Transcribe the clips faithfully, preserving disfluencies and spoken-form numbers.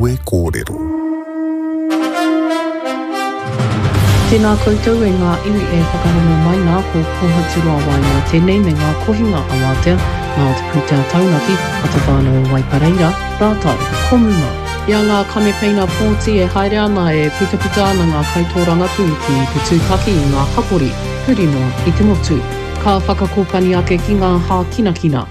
Kawe Kōrero. Tēnā koutou e ngā iwi e whakarongo mai nā, ko Kōhaturoa Waenga tēnei me ngā kohinga awatea nā te pūtea taunaki a te whānau o Waipareira rātou ko Muma. I a ngā kamepeina pōti e haere ana e putaputa ana ngā kaitōrangapū ki te tūtaki i ngā hapori huri noa i te motu. Ka whakakōpani ake ki ngā hākinakina.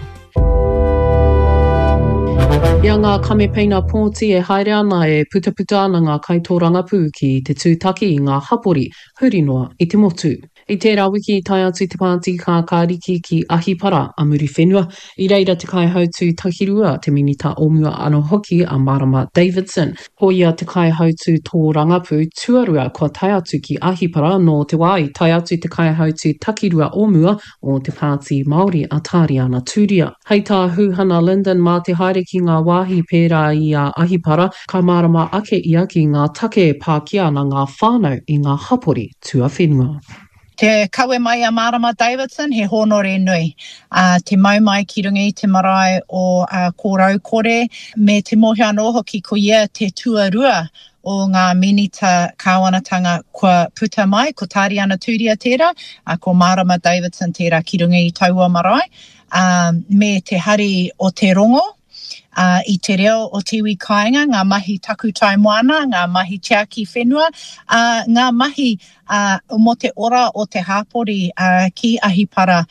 I a ngā kamepeina pōti e haere ana e putaputa ana ngā kaitōrangapū ki te tūtaki i ngā hapori huri noa i te motu. I tērā wiki i tae atu te pāti kākāriki ki Ahipara a Muriwhenua, i reira te kaihautū takirua, te minita o mua anō hoki a Marama Davidson. Ko ia te kaihautū tōrangapū tuarua kua tae atu ki Ahipara nō te wā i tae atu te kaihautū takirua o mua o te Pāti Māori a Tāriana Tūria. Hei tā Huhana Lyndon mā te haere ki ngā wāhi pērā i a Ahipara, ka mārama ake ia ki ngā take e pākia ana ngā whānau i ngā hapori tuawhenua. Te kawe mai a Marama Davidson, he hōnore nui. Uh, te mau mai ki runga i te marae o uh, Kōraukore, me te mōhio anō hoki ko ia te tuarua o ngā minita kāwanatanga kua puta mai, ko Tāriana Tūria tērā, uh, ko Marama Davidson tērā ki runga i taua marae, um, me te hari o te rongo, uh, i te reo o te iwi kāinga, ngā mahi takutai moana, ngā mahi tiaki whenua, uh, ngā mahi uh, mō te ora o te hāpori uh, ki Ahipara.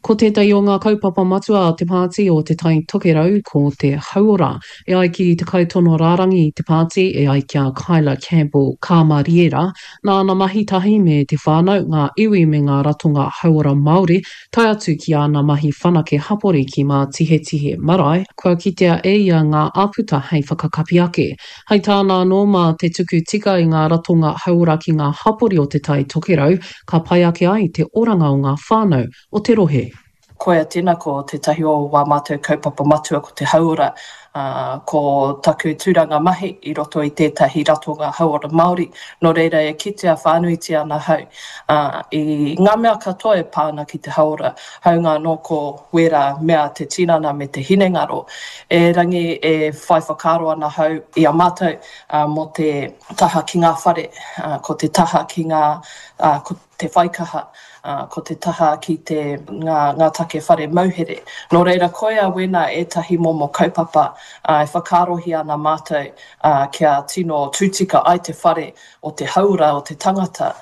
Ko tētahi o ngā kaupapa matua a te pāti o Te Tai Tokerau ko te hauora. E ai ki te kaitono rārangi i te pāti, e ai ki a Kyla Campbell Kāmariera, nāna mahi tahi me te whānau, ngā iwi me ngā ratonga hauora Māori, tae atu ki āna mahi whanake hapori ki Mātihetihe Marae, kua kitea e ia ngā āputa hei whakakapi ake. Hei tāna anō mā te tuku tika i ngā ratonga hauora ki ngā hapori o Te Tai Tokerau, ka pai ake ai te oranga o ngā whānau o te rohe. Koia tēnā ko tētahi o wā mātou kaupapa matua ko te hauora, uh, ko taku tūranga mahi i roto i tētahi ratonga hauora Māori, nō reira e kitea whānuitia ana hau uh, i ngā mea katoa e pā ana ki te hauora, haunga anō ko wērā mea te tinana me te hinengaro. Erangi e whai whakaaro ana hau i a mātou uh, mō te taha ki ngā whare, uh, ko te taha ki ngā, uh, ko te whaikaha, uh, ko te taha ki te ngā, ngā take whare mauhere. Nō reira, koia wena ētahi momo kaupapa uh, e whakaarohia ana mātou uh, kia tino tūtika ai te whare o te hauora o te tangata.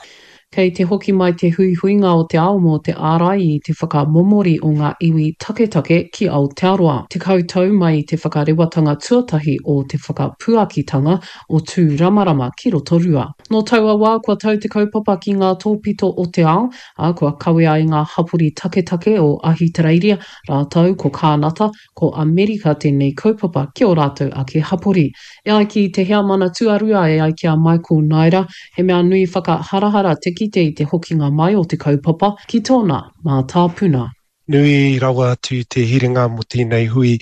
Kei te hoki mai te huihuinga o te ao mō te ārai i te whakamomori o ngā iwi taketake ki Aotearoa. Tekau tau mai i te whakarewatanga tuatahi o te whakapuakitanga o Tūramarama ki Rotorua. Nō taua wā kua tau te kaupapa ki ngā tōpito o te ao, ā, kua kawea i ngā hapori taketake o Ahitereiria, rātou ko Kānata, ko Amerika tēnei kaupapa ki ō rātou ake hapori. E ai ki te heamana tuarua e ai ki a Michael Naira, he mea nui whakaharahara te kite i te hokinga mai o te kaupapa ki tōna mātāpuna. Nui rawa atu te hiringa mō tēnei hui,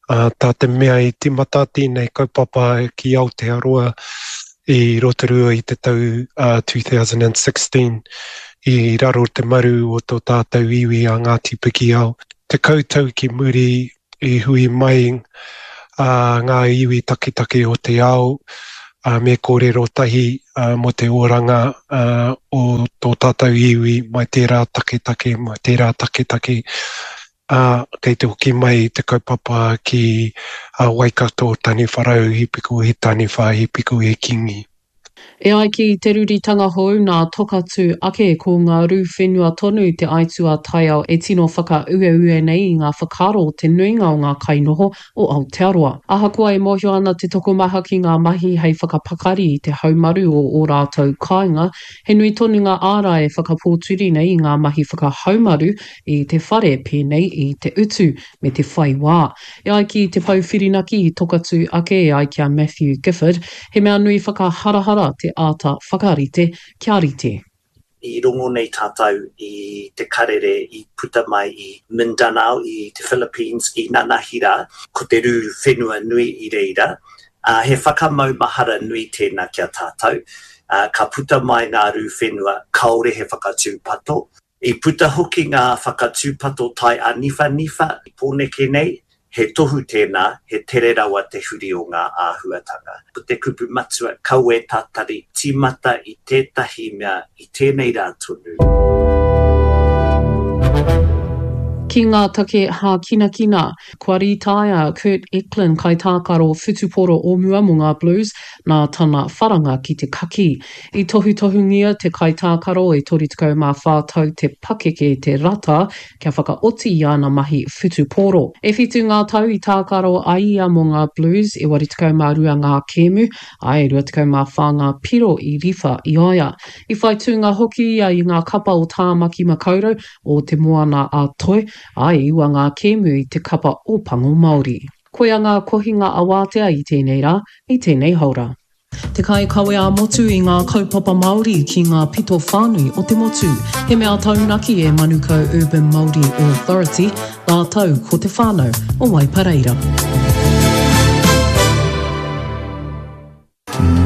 uh, tā te mea i tīmata tēnei kaupapa ki Aotearoa i Rotorua i te tau uh, two thousand sixteen i raro te maru o tō tātou iwi a Ngāti Pikiao. Tekau tau ki muri i hui mai uh, ngā iwi taketake o te ao uh, me kōrero tahi uh, mō te oranga uh, o tō tātou iwi mai tērā taketake, mai tērā taketake. Uh, kei te hoki mai te kaupapa ki uh, Waikato, Taniwharau, he piko he taniwha, he piko he kingi. E ai ki te ruritanga hou nā Tokatū ake ko ngā rū whenua tonu te aituā taiao e tino whakaueue nei i ngā whakaaro o te nuinga o ngā kainoho o Aotearoa. Ahakoa e mōhio ana te tokomaha ki ngā mahi hei whakapakari i te haumaru o ō rātou kāinga, he nui tonu ngā ārai e whakapōturi nei i ngā mahi whakahaumaru i te whare pēnei i te utu me te whai wā. E ai ki te pou whirinaki i Tokatū ake e ai ki a Matthew Gifford, he mea nui whakaharahara te āta whakarite kia rite. I rongo nei tātou i te karere i puta mai i Mindanao, i te Philippines, i nanahira, ko te rū whenua nui i reira. Uh, he whakamaumahara nui tēnā ki a tātou. Uh, ka puta mai ngā rū whenua, kāore he whakatūpato. I puta hoki ngā whakatūpato tai āniwhaniwha i Pōneke nei, He tohu tēnā, he tere rawa te huri o ngā āhuatanga. Ko te kupu matua, kaua e tatari, tīmata i tētahi mea i tēnei rā tonu. Ki ngā take hākinakina, kua rītaia Kurt Eklund kaitākaro whutupōro o mua mō ngā Blues nā tana wharanga ki te kakī. I tohutohungia te kaitākaro e toru tekau mā whā tau te pakeke te rata kia whakaoti i āna mahi whutupōro. E whitu ngā tau i tākaro ai ia mō ngā Blues, e waru tekau mā rua ngā kēmu, ā, e rua tekau mā whā ngā piro i riwha i a ia. I whai tūnga hoki ia i ngā kapa o Tāmaki Makaurau, o Te Moana a Toi, ā, e iwa ngā kēmu i te kapa Ōpango Māori. Koia ngā kohinga awātea i tēnei rā, i tēnei haora. Te kaikawe ā-motu i ngā kaupapa Māori ki ngā pito whānui o te motu. He mea taunaki e Manukau Urban Māori Authority rātou ko te whānau o Waipareira.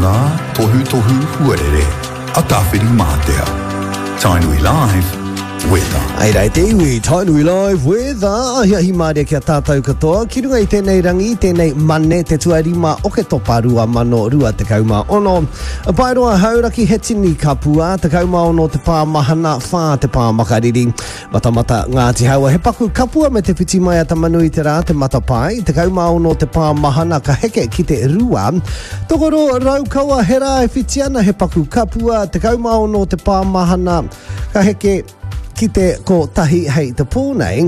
Ngā tohutohu huarere a Tāwhirimātea. Tainui Live, Weather. Ai rā e te iwi, Tainui Live, Weather, ahiahi mārie ki a tātou katoa, ki runga i tēnei rangi, tēnei Mane, te tuarima Oketopa rua mano rua tekau mā ono. Paeroa Hauraki, he tini kapua, tekau mā ono te pā mahana, whā te pā makariri. Matamata Ngāti Haua, he paku kapua me te whiti mai a Tamanuiterā, te matapae, tekau mā ono te pā mahana ka heke ki te rua. Tokoro Raukawa, he rā e whiti ana, he paku kapua, tekau mā ono te pā mahana ka heke ki te kotahi hei te pō nei.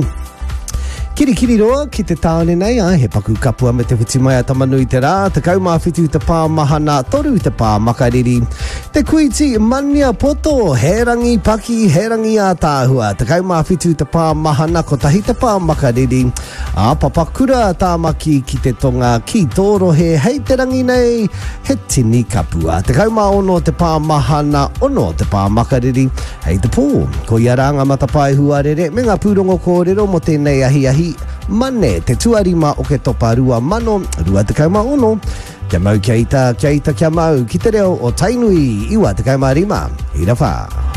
Kirikiriroa ki te tāone nei, āe, he paku kapua me te whiti mai a Tamanuiterā, tekau mā whitu te pā mahana, toru te pā makariri. Te Kuiti Maniapoto, he rangi paki, he rangi ātaahua, tekau mā whitu te pā mahana, kotahi te pā makariri. Ā, Papakura, Tāmaki ki te tonga, ki tō rohe, hei te rangi nei, he tini kapua. Tekau mā ono te pā mahana, ono te pā makariri, hei te pō. Koia rā ngā matapae huarere me ngā pūrongo kōrero mō tēnei ahiahi Mane, te tuarima Oketopa rua mano rua tekau mā ono. Kia mau kia ita, kia ita kia mau, ki te reo o Tainui, iwa tekau mā rima, hira whā.